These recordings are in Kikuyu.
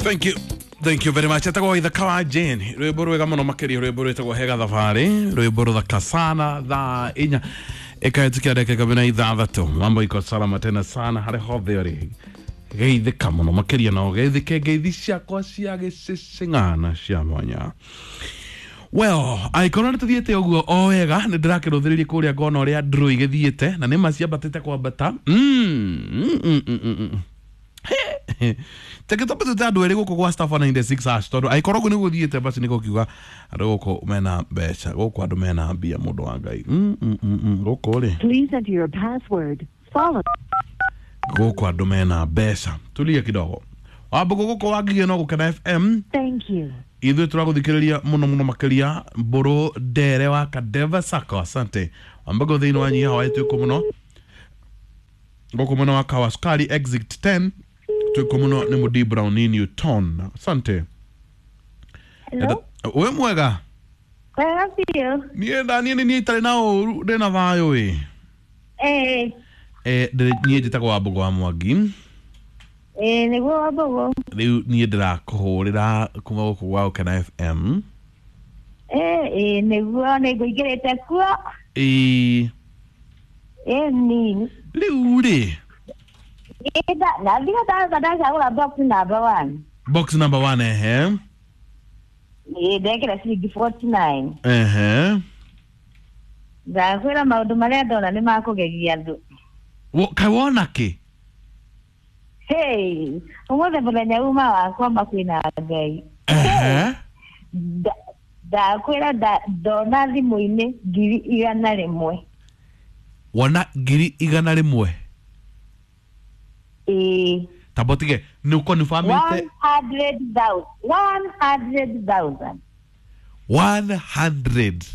Thank you. Thank you very much. Etagwo Ithaka wa Jane. Rwimbo rwega muno makiria, rwimbo rwitagwo Hega Thabarĩ, rwimbo ruthaka sana. Thaa 4 ĩkahĩtũkia ndagĩka 16. Mambo iko salama tena sana harĩ hothe ũrĩ. Geithĩka mũno makĩria na ũgeithĩke ngeithi ciakwa cia gĩcĩcĩng'ana cia mwanya. Well, angĩkorwo nĩ tũthiĩte ũguo o wega, nĩ ndĩrakĩrũthĩrĩria kũrĩa ngona ũrĩa ndũrũ igĩthiĩte na nĩ ma ciambatĩte kwambata. Teke twambe tũte andũ erĩ gũkũ gwa star 496 hash, tondũ angĩkorwo ũguo nĩguo thiĩte, basi nĩ gũkiuga andũ gũkũ mena mbeca, gũkũ andũ mena mbia, mũndũ wa Ngai. Gũkũ rĩ. Please enter your password. Follow. Gũkũ andũ mena mbeca. Tulia kidogo. Wambũgũ gũkũ wangigie no Gũkena FM. Thank you. Ithuĩ tũragũthikĩrĩria mũno mũno makĩria. Mbũrũ Ndere wa Kadeva Sacco, asante. Wambũgũ thĩinĩ wa Nyiha wa twĩkũ mũno gũkũ mwena wa Kawa Sukari exit 10, twĩkũ mũno nĩ Mũdi Brown Newton, asante. Hello? Wĩ mwega? Wega biũ. Niĩ ndaniĩ nĩ niĩ itarĩ na ũru, ndĩna thayũ ĩ. Eh, Niĩ njĩtagwo Wambũgũ wa Mwangi. Eh, nĩguo Wambũgũ. Rĩu niĩ ndĩrakũhũrĩra kuma gũkũ gwa Gũkena FM. Eh, eh, nĩguo nĩngũingĩrĩte kuo. Ĩĩ. Eh, ni. Rĩu rĩ. Na ndio ndacagũra box number 1. Box number 1, ehe. Ĩĩ, ndekĩra ciringi 49. Ehe. Ndakwĩra maũndũ marĩa ndona nĩ makũgegia andũ. Kaĩ wona kĩ? Hey, ũmũthĩ mũthenya uma wakwa makwĩna Ngai. Ehe. Ndakwĩra ndona thimũ-inĩ 100,000. Wona 100,000? Ĩĩ. Tamba ũtige nĩ ũkonifamĩte. 100,000. 100,000. 100.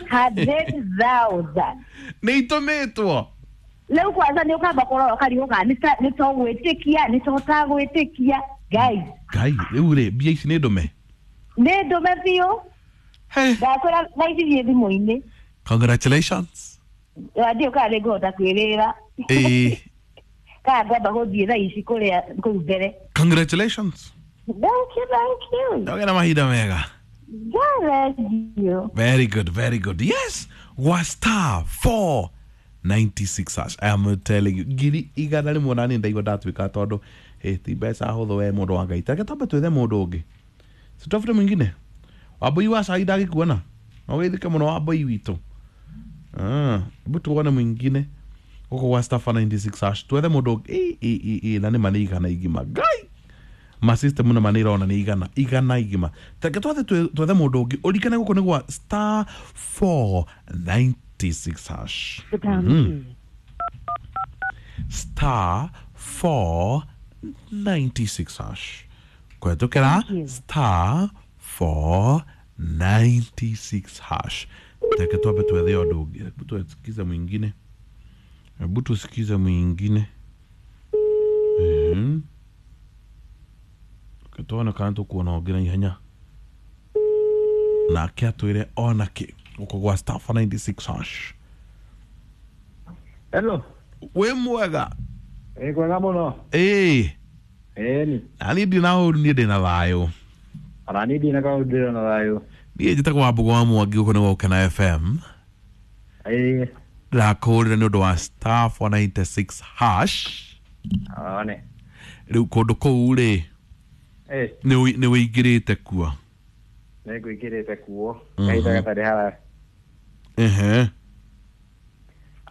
100,000. Nĩ itũmĩtwo. Rĩu kwanza nĩ ũkamba kũrora ũkarigwo kana nĩ to gwĩtĩkia, nĩ to ũtagwĩtĩkia. Ngai. Ngai, rĩu rĩ, mbia ici nĩ ndũme? Nĩ ndũme biũ. Hey. Ndakwĩra thaa ici thiĩ thimũ-inĩ. Congratulations. Ndiũ kana nĩ ngũhota kwĩrĩra. Ĩĩ. Kana ngwamba gũthiĩ thaa ici kũrĩa kũu mbere. Congratulations. Thank you, thank you. Ndagĩa na mahinda mega. God bless you. Very good, very good. Yes, was star 496 hash. I am telling you, 100,000 na niĩ ndaigua ndatuĩka tondũ ti mbeca hũthũ we mũndũ wa Ngai. Tareke twambe twethe mũndũ ũngĩ. Tutafute mwingine. Wambũi wa cai ndagĩkuona. No wĩthike mũno Wambũi witũ. Hebu tuone mwingine gũkũ gwa star 496 hash. Twethe mũndũ ũngĩ. Ĩ, na nĩ ma nĩ igana igima. Ngai! Ma system na manä irona nä igana igana igima. Tareke twathe twethe mũndũ ũngĩ ũrikane gũkũ nĩ gwa star 496 hash. The pound key. Star 496 hash. Kũhetũkĩra Thank you. star 496 hash. Tareke twambe twethe ũndũ ũngĩ. Hebu tusikize mwingine. Hebu tusikize mwingine. Tuone kana tũkuona ũngĩ na ihenya nake atwĩre ona kĩ gũkũ gwa star 496 hash. Hello. Wĩ mwega? Ĩ kwega mũno. Ĩĩ. Ĩni. Na niĩ ndirĩ na ũru, niĩ ndĩ na thayũ. Ona niĩ ndina kaũndũ, ndĩrĩ na thayũ. Niĩ njĩtagwo Wambũgũ wa Mwangi, gũkũ nĩ Gũkena FM. Ĩĩ. Ndĩrakũhũrĩra nĩ ũndũ wa star 496 hash. One. Rĩu kũndũ kũu rĩ, Ĩ. nĩ wĩingĩrĩte kuo. Nĩ ngũingĩrĩte kuo. Kahinda gatarĩ haraya. Ehe.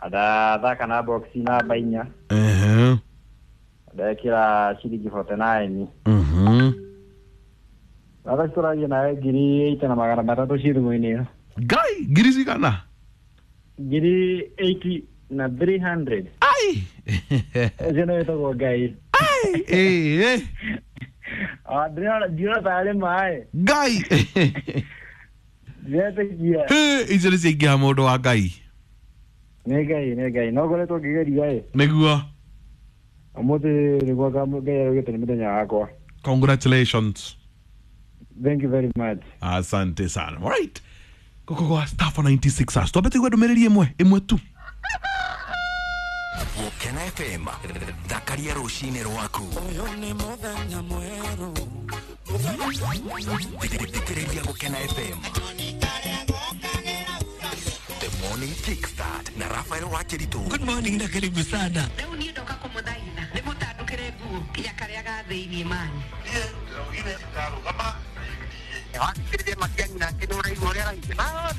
Ndathaka na box namba 4. Ehe. Ndekĩra ciringi 49. Thaa tũragia nawe 8,300 ciĩ thimũ-inĩ ĩyo. Ngai, ngiri cigana? 8,300. Ai. Ũcio nĩ wĩtagwo Ngai. Ai. Ĩĩ. Ndĩrona tarĩ maĩ. Ngai. Ndiretĩkia. Icio nĩ ciaingĩha mũndũ wa Ngai. Nĩ Ngai, nĩ Ngai. No ngoretwo ngĩgeria ĩ. Nĩguo. Ũmũthĩ nĩguo Ngai araugĩte nĩ mũthenya wakwa. Congratulations. Thank you very much. Asante sana. All right. Gũkũ gwa star 496 hash. Twambe tũigue ndũmĩrĩri ĩmwe ĩmwe tu. Gũkena FM thakaria rũcinĩ rwaku. Ũyũ nĩ mũthenya mwerũ. Thikĩrĩria Gũkena FM The Morning Kickstart na Rafael Wakeritu. Good morning na karibu sana. Rĩu niĩ ndoka kũmũthaitha nĩ mũtandũkĩre nguo kinya karĩa ga thĩiniĩ manyu. Wathikĩrĩria Matiang'i nake nĩ ũraigua ũrĩa araigua.